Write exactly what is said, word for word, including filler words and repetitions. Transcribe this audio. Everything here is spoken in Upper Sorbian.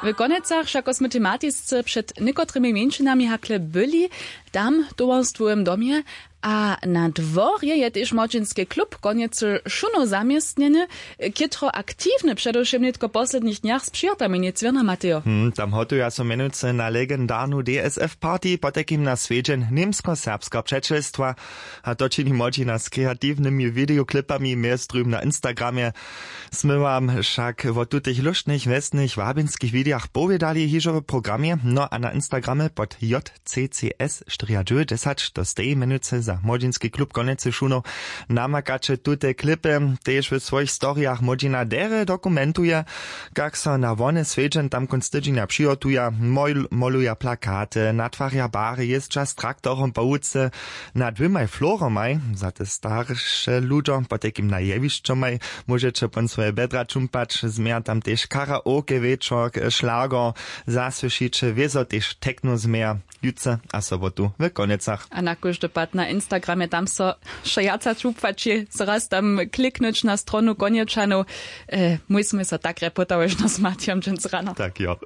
W konjecach wšako smy tematisce před někotrymi mjeńšinami hakle byli, tam w towarstwowym domje, a na dworje je tež młodźinski klub konjecy šunow zaměstnjeny, chětro aktiwny předewšěm nětko w poslednich dnjach z přihotami, nic wěrna, Matejo? Hm, tam hotuja so mjenujcy na legendarnu dsf party, potajkim na swjedźeń němsko-serbskeho přećelstwa. A to čini młodźina z kreatiwnymi videoklipami mjez druhim na instagramje. Smy wam wšak wo tutych lóštnych wjesnych wabinskich widejach powědali hižo w programje, no a na instagramje pod j c c s štyri dźewjećdźesat, to steji mjenujcy za młodźinski klub konjecy šunow, namakaće tute klipy. Tež w swojich storijach młodźina derje dokumentuje, kak so na wone swjedźeń tam kónc tydźenja přihotuja, mol- moluja plakaty, natwarja bary, jězdźa z traktorom po łuce. Nad dwěmaj floromaj za te starše ludźo, potajkim na jewišćomaj, móžeće pon swoje bjedra čumpać. Změja tam tež karaoke wječor, šlago, zasłyšiće wězo tež techno změja jutře a sobotu w konjecach. A na kóždy pad na instagramje tam so wšojaca čupłaći, so raz tam kliknyć na stronu konječanow. E, mój smy so tak reputałyžno z matjom dźens rano. Tak jo.